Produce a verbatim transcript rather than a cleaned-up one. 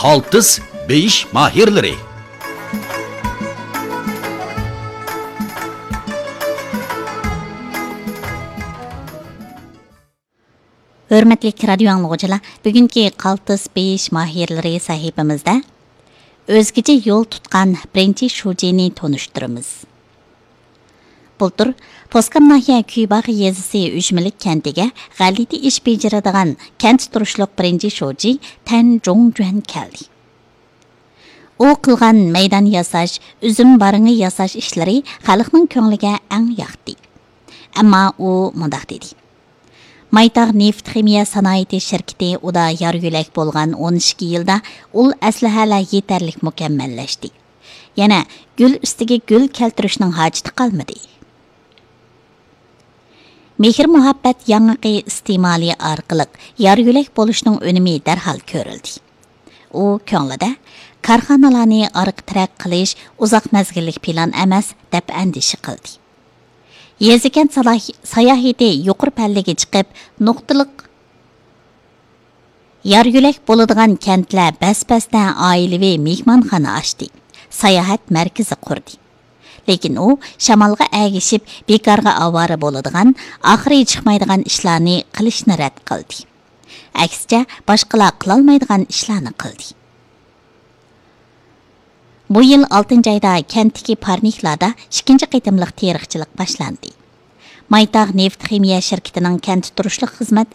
قالتىس بېيىش ماھىرلىرى. ھۆرمەتلىك رادىيو ئاڭلىغۇچىلار، بۈگۈنكى قالتىس بېيىش ماھىرلىرى سەھىپىمىزدە ئۆزگىچە يول تۇتقان بىرىنچى شۇجىنى تونۇشتۇرىمىز. بۇلتۇر پوسكام ناھىيە كۈيباغ يېزىسى ئۈجمىلىك كەنتىگە غەلىتە ئىش بېجىرىدىغان كەنتتە تۇرۇشلۇق بىرىنچى شۇجى تەن جۇڭجۈەن كەلدى. ئۇ قىلغان مەيدان ياساش، ئۈزۈم بارىڭى ياساش ئىشلىرى خەلقنىڭ كۆڭلىگە ئەڭ ياقتى. ئەمما ئۇ مۇنداق دېدى: مايتاغ نېفىت خىمىيە سانائىتى شىركىتى ئۇدا يار يۆلەك بولغان ئون ئىككى يىلدا ئۇل ئەسلىھەلەر يېتەرلىك مۇكەممەللەشتى. يەنە گۈل ئۈستىگە گۈل كەلتۈرۈشنىڭ ھاجىتى قالمىدى. مېھىر مۇھەببەت ياڭىقى ئىستېمالى ئارقىلىق يار يۆلەك بولۇشنىڭ ئۈنۈمى دەرھال كۆرۈلدى. ئۇ كۆڭلىدە كارخانىلارنى ئارقا تىرەك قىلىش ئۇزاق مەزگىللىك پىلان ئەمەس، دەپ ئەندىشە قىلدى. يېزا كەنت سالاھ-، ساياھىتى يۇقىرى پەللىگە چىقىپ، نۇقتىلىق يار يۆلەك بولىدىغان كەنتلەر بەس بەستە ئائىلىۋى مېھمانخانا ئاچتى، ساياھەت مەركىزى قۇردى. لېكىن ئۇ شامالغا ئەگىشىپ بىكارغا ئاۋارە بولىدىغان، ئاخىرى چىقمايدىغان ئىشلارنى قىلىشنى رەت قىلدى. ئەكسىچە، باشقىلار قىلالمايدىغان ئىشلارنى قىلدى. بۇ يىل ئالتىنچى ئايدا كەنتتىكى پارنىكلاردا ئىككىنچى قېتىملىق تېرىقچىلىق باشلاندى. مايتاغ نېفىت خىمىيە شىركىتىنىڭ كەنتتە تۇرۇشلۇق خىزمەت